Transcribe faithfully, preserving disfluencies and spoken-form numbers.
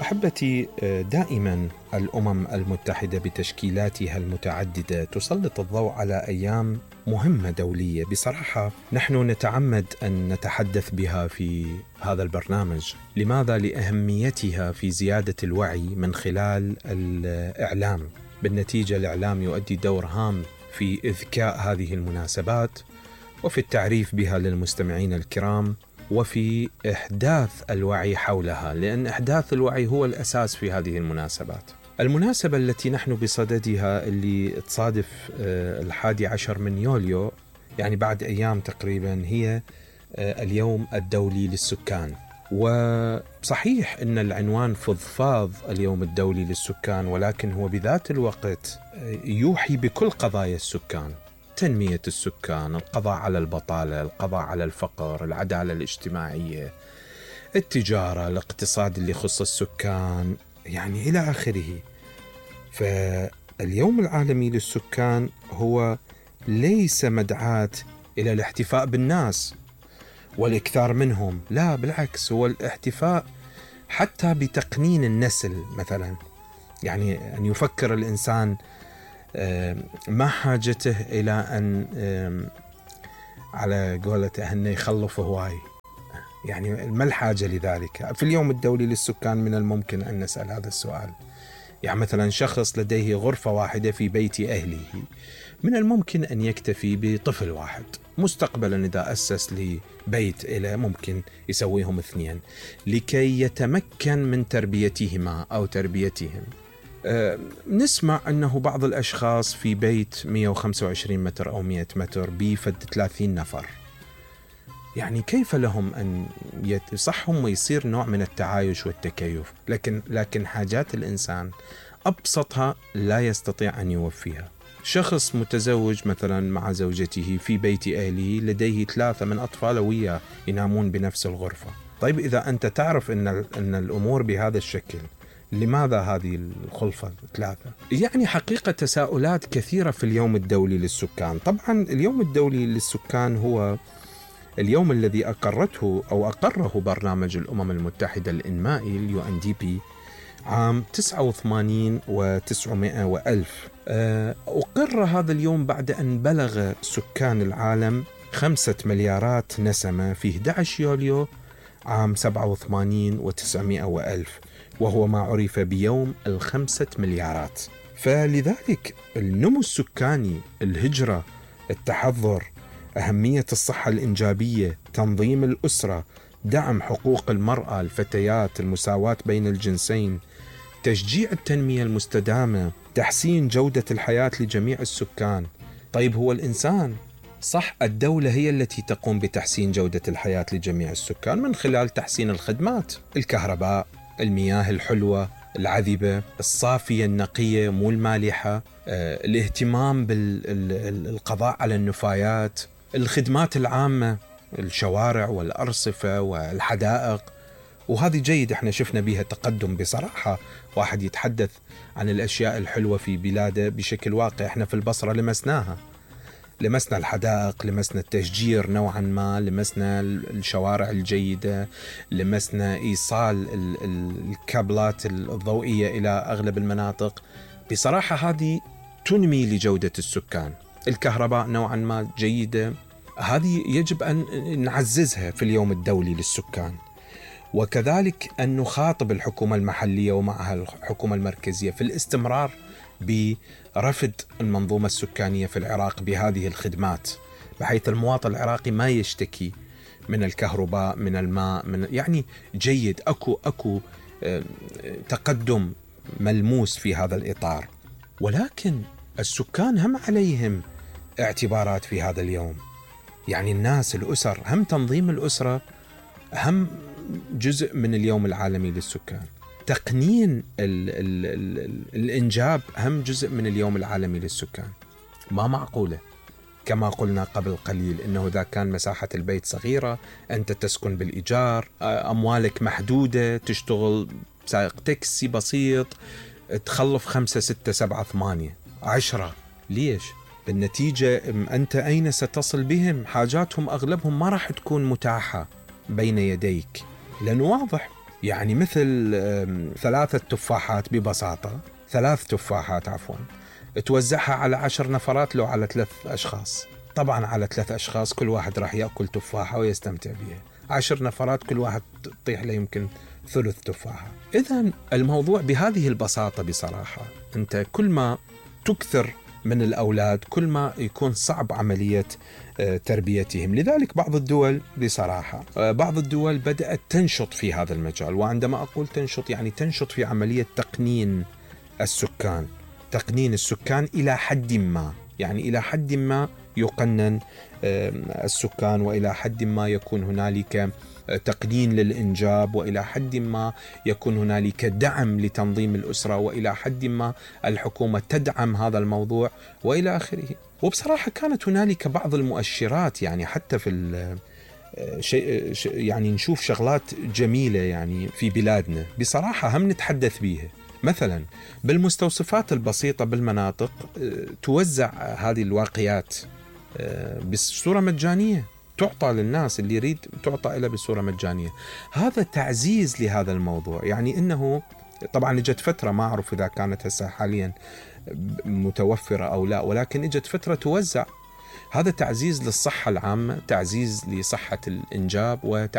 أحبتي، دائما الأمم المتحدة بتشكيلاتها المتعددة تسلط الضوء على أيام مهمة دولية. بصراحة نحن نتعمد أن نتحدث بها في هذا البرنامج. لماذا؟ لأهميتها في زيادة الوعي من خلال الإعلام. بالنتيجة الإعلام يؤدي دور هام في إذكاء هذه المناسبات وفي التعريف بها للمستمعين الكرام وفي إحداث الوعي حولها، لأن إحداث الوعي هو الأساس في هذه المناسبات. المناسبة التي نحن بصددها اللي تصادف الحادي عشر من يوليو، يعني بعد أيام تقريبا، هي اليوم الدولي للسكان. وصحيح أن العنوان فضفاض اليوم الدولي للسكان، ولكن هو بذات الوقت يوحي بكل قضايا السكان: تنمية السكان، القضاء على البطالة، القضاء على الفقر، العدالة الاجتماعية، التجارة، الاقتصاد اللي يخص السكان، يعني إلى آخره. فاليوم العالمي للسكان هو ليس مدعاة إلى الاحتفاء بالناس والإكثار منهم، لا بالعكس، هو الاحتفاء حتى بتقنين النسل مثلا. يعني أن يفكر الإنسان ما حاجته إلى أن على قولته أنه يخلف هواي، يعني ما الحاجة لذلك؟ في اليوم الدولي للسكان من الممكن أن نسأل هذا السؤال. يعني مثلا شخص لديه غرفة واحدة في بيت أهله، من الممكن أن يكتفي بطفل واحد. مستقبلا إذا أسس لبيت إلى ممكن يسويهم اثنين لكي يتمكن من تربيتهما أو تربيتهم. أه نسمع أنه بعض الأشخاص في بيت مئة وخمسة وعشرين متر أو مئة متر بيفد ثلاثين نفر. يعني كيف لهم أن يصحهم ويصير نوع من التعايش والتكيف، لكن لكن حاجات الإنسان أبسطها لا يستطيع أن يوفيها. شخص متزوج مثلا مع زوجته في بيت أهله، لديه ثلاثة من أطفاله وياه ينامون بنفس الغرفة. طيب إذا أنت تعرف أن أن الأمور بهذا الشكل، لماذا هذه الخلفة ثلاثة؟ يعني حقيقة تساؤلات كثيرة في اليوم الدولي للسكان. طبعا اليوم الدولي للسكان هو اليوم الذي أقرته أو أقره برنامج الأمم المتحدة الإنمائي اليو إن دي بي عام تسعة وثمانين وتسعمائة وألف. أقر هذا اليوم بعد أن بلغ سكان العالم خمسة مليارات نسمة في أحد عشر يوليو عام سبعة وثمانين وتسعمائة وألف، وهو ما عرف بيوم الخمسة مليارات. فلذلك النمو السكاني، الهجرة، التحضر، أهمية الصحة الإنجابية، تنظيم الأسرة، دعم حقوق المرأة، الفتيات، المساواة بين الجنسين، تشجيع التنمية المستدامة، تحسين جودة الحياة لجميع السكان. طيب هو الإنسان صح، الدولة هي التي تقوم بتحسين جودة الحياة لجميع السكان من خلال تحسين الخدمات: الكهرباء، المياه الحلوة العذبة الصافية النقية مو المالحة، آه، الاهتمام بالقضاء على النفايات، الخدمات العامة، الشوارع والأرصفة والحدائق. وهذه جيد، احنا شفنا بها تقدم. بصراحة واحد يتحدث عن الأشياء الحلوة في بلاده بشكل واقع، احنا في البصرة لمسناها، لمسنا الحدائق، لمسنا التشجير نوعا ما، لمسنا الشوارع الجيدة، لمسنا إيصال الكابلات الضوئية إلى أغلب المناطق. بصراحة هذه تنمي لجودة السكان. الكهرباء نوعا ما جيدة، هذه يجب أن نعززها في اليوم الدولي للسكان. وكذلك أن نخاطب الحكومة المحلية ومعها الحكومة المركزية في الاستمرار برفض المنظومة السكانية في العراق بهذه الخدمات، بحيث المواطن العراقي ما يشتكي من الكهرباء، من الماء، من يعني جيد. أكو أكو تقدم ملموس في هذا الإطار. ولكن السكان هم عليهم اعتبارات في هذا اليوم. يعني الناس، الأسر، هم تنظيم الأسرة هم جزء من اليوم العالمي للسكان. تقنين ال ال ال الإنجاب هم جزء من اليوم العالمي للسكان. ما معقولة كما قلنا قبل قليل إنه إذا كان مساحة البيت صغيرة، أنت تسكن بالإيجار، أموالك محدودة، تشتغل سائق تاكسي بسيط، تخلف خمسة ستة سبعة ثمانية عشرة. ليش؟ بالنتيجة أنت أين ستصل بهم؟ حاجاتهم أغلبهم ما راح تكون متاحة بين يديك، لأنه واضح يعني مثل ثلاثة تفاحات ببساطة، ثلاث تفاحات عفوا، توزعها على عشر نفرات لو على ثلاث أشخاص. طبعا على ثلاث أشخاص كل واحد راح يأكل تفاحة ويستمتع بها، عشر نفرات كل واحد تطيح له يمكن ثلث تفاحة. إذن الموضوع بهذه البساطة بصراحة. أنت كل ما تكثر من الأولاد كل ما يكون صعب عملية تربيتهم. لذلك بعض الدول بصراحة بعض الدول بدأت تنشط في هذا المجال، وعندما أقول تنشط يعني تنشط في عملية تقنين السكان، تقنين السكان إلى حد ما، يعني إلى حد ما يقنن السكان، وإلى حد ما يكون هنالك تقنين للإنجاب، وإلى حد ما يكون هنالك دعم لتنظيم الأسرة، وإلى حد ما الحكومة تدعم هذا الموضوع وإلى آخره. وبصراحة كانت هنالك بعض المؤشرات، يعني حتى في شيء يعني نشوف شغلات جميلة يعني في بلادنا بصراحة هم نتحدث بيها. مثلا بالمستوصفات البسيطة بالمناطق توزع هذه الواقيات بصورة مجانية، تعطى للناس اللي يريد تعطى إلى بصورة مجانية. هذا تعزيز لهذا الموضوع. يعني إنه طبعا اجت فترة ما أعرف إذا كانت هسه حاليا متوفرة أو لا، ولكن اجت فترة توزع. هذا تعزيز للصحة العامة، تعزيز لصحة الإنجاب، وتعزيز